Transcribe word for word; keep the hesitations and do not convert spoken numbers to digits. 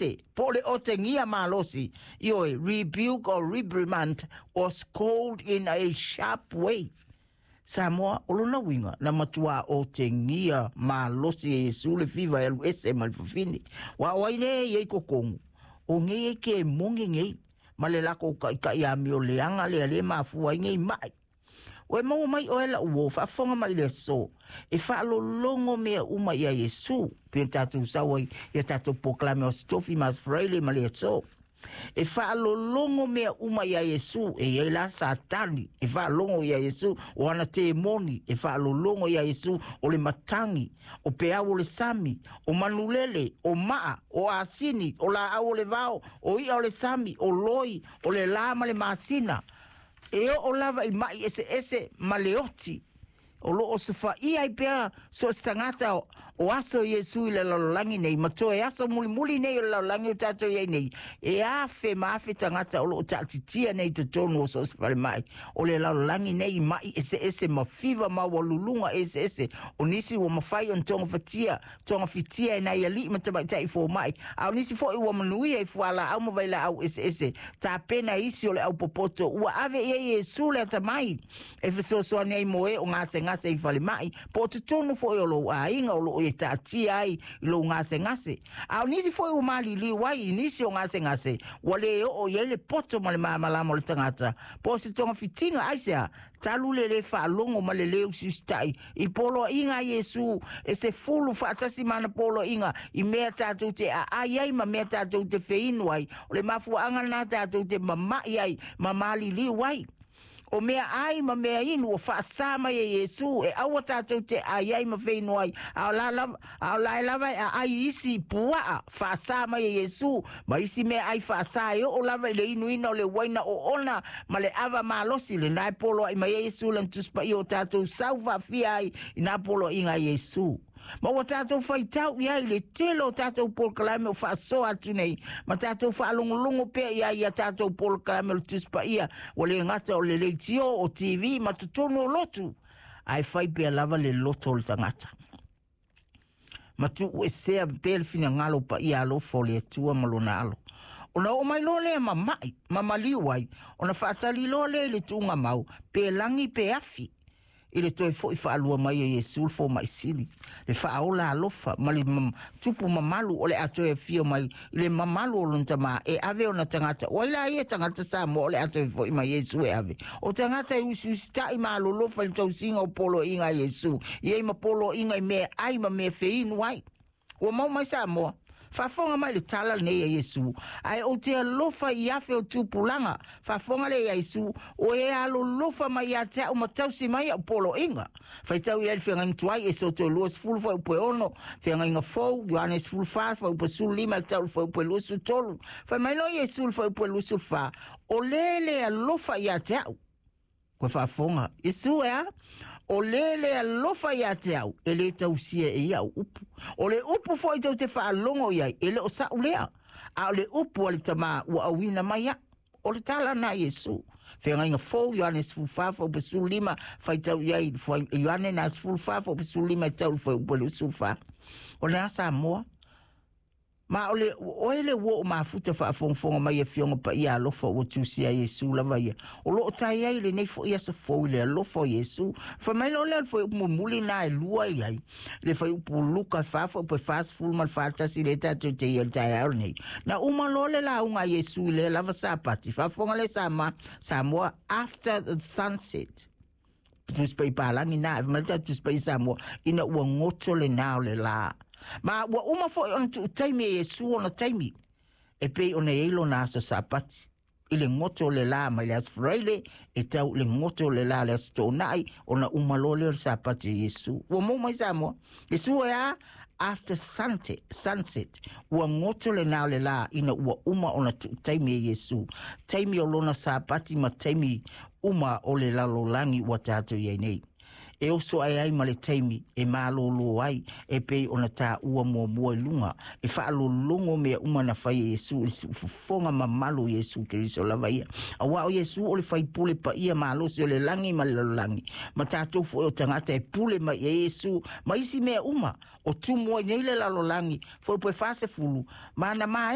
ese po o le otegia malosi. Ioe, rebuke or reprimand or scold in a sharp way. Samoa, o lona uiga na matuā otegia malosi e Iesu le fiva e alu ese ma le fafine. Ua o ai lea e i ai totonu o nei e ke mogi nei ma le lakou taʻitaʻi amio leaga lea lē mafua ai nei maʻi. Ua e maua mai oe laʻu uō, faafofoga mai le aso e faalologo mea uma iā Iesu pe tatou sau ai ia tatou polokalame o Aso Tofi ma Aso Faraile ma le aso. E faalologo mea uma iā Iesu e iai la Satani e faalogo iā Iesu, o ana temoni e faalologo iā Iesu, o le matagi, o peau o le sami, o manulele, o maa, o asini, o laau o le vao, o i'a o le sami, o loi, o le lā ma le masina. E oo lava i maʻi eseese ma le oti o loo sofaia ai pea so o se tagata o aso Iesu i le lalolagi nei ma toe aso mulimuli nei o le lalolagi o tatou i ai nei. E afe ma afe tagata o loo taatitia nei totonu o so o se falemai o le lalolagi nei i maʻi eseese ma fiva maualuluga eseese. O nisi ua mafai ona togafatia togafitia e nai alii ma tamaitai fomaʻi, a o nisi foʻi ua manuia i fualaau ma vailaau eseese tapena e isi o le aupopoto ua ave i ai Iesu le atamai e fesoasoani ai mo e o gasegase i falemai po o totonu foʻi o lou aiga o loo e taatia ai i lou gasegase. A o nisi foʻi ua maliliu ai i nisi o gasegase ua lē oo i ai le poto ma le malamalama o le tagata po o se togafitiga. Aisea talu le lē faalogo ma le lē usiusitaʻi i poloaʻiga a Iesu e se fulu faatasi ma ana poloaʻiga i mea tatou te aai ai ma mea tatou te feinu ai. O le mafuaaga lenā tatou te mamaʻi ai ma maliliu ai. O mea ai ma mea inu ua faasā mai e Iesu e aua tatou te ai ai ma feinu ai, a o la lava, a o la e lava e aai isi puaa faasā mai e Iesu ma isi mea ai faasā e oo lava i le inuina o le uaina oona ma le ava malosi lenā e poloaʻi mai ai Iesu lana Tusi Paia o tatou sau faafia ai i nā poloaʻiga a Iesu. Ma ua tatou faitau i ai i le tele o tatou polokalame o faasoa atu nei ma tatou faalogologo pea i ai ia tatou polokalame o le Tusi Paia ua le gata o le leitio o T V ma totonu o lotu, ae fai pea lava le loto o le tagata ma tuuesea pea le finagalo paia alofa o le Atua ma lona alo. Ona oo mai loa lea ma maʻi ma maliu ai, ona faatali loa lea i le tuugamau pe lagi pe afi i le toe foʻi faalua mai o Iesu le fomaʻi sili, le faaola alofa ma le tupu mamalu o le a toe afio mai i le mamalu o lona Tamā e ave ona tagata. O ai la ia tagata Samoa o le a toe foʻi mai Iesu e ave? O tagata e usiusitaʻi ma alolofa i le tausiga o poloaʻiga a Iesu i ai ma poloaʻiga i mea ai ma mea feinu ai. Ua mau mai Samoa, faafofoga mai le tala lenei a Iesu, ae ou te alofa i afe o tupulaga. Faafofoga lea iā Iesu, o e alolofa mai iā te aʻu ma tausi mai aʻu poloaiga. Faitau i ai le feagaiga tuai Esoto luasefulu fuaiupu e ono, feagaiga fou Ioane sefulufa fuaiupu e sefululima e tau i le fuaiupu e luasefulutolu. Fai mai loa Iesu i le fuaiupu e luasefulufa, o le le alofa iā te aʻu. Koe faafofoga Iesu e a? O le le alofa iā te au, e lē tausia e ia au upu. O le upu foʻi tou te faalogo i ai, e le o saʻu lea, a o le upu a le Tamā ua auina mai aʻu. O le tala na Iesu. Feagaiga fou Ioane sefulufa fuaiupu e sefululima, faitau i ai Ioane na sefulufa fuaiupu e sefululima e tau i le fuaiupu e luasefulufa. O lenā Samoa. Ma o le oe le ua o mafuta faafogafoga mai afioga paia alofa ua tusia Iesu lava ia. O loo tai ai lenei foʻi aso fou i le alofa o Iesu. Fai mai loa lea o le fuaiupu mulimuli na e lua i ai. Le fuaiupu Luka fa fuaiupu e fasefulu ma le fatasi lea tatou te ia i le taeao lenei. Na uma loa le lauga a Iesu i lea lava Sapati. Faafofoga lea Sama, Samoa, after the sunset. Tusi Paia palagi na e mai tatou Tusi Paia Samoa ina ua goto lenā o le lā. Ma ua uma foʻi ona tuu taimi e Iesu ona taimi e pei ona iai lona aso Sapati. I le goto o le lā mai le Aso Faraile e tau i le goto o le lā le Aso Toonai ona uma loa lea o le Sapati o Iesu. Ua mou mai Samoa. Iesu e a? After sunset, sunset ua goto lenā o le lā ina ua uma ona tuu taimi e Iesu. Taimi o lona Sapati ma taimi uma o le lalolagi ua tatou i ai nei. E oso ae ai ma le taimi e malōlō ai e pei ona taua muamua i luga e faalologo mea uma na fai e Iesu i le siufofoga mamalu o Iesu Keriso lava ia. Auā o Iesu o le faipule paia malosi o le lagi ma le lalolagi ma tatou foʻi o tagata e pule mai i ai Iesu ma isi mea uma o tumu ai nei le lalolagi fuaiupu e fasefulu ma na maeʻa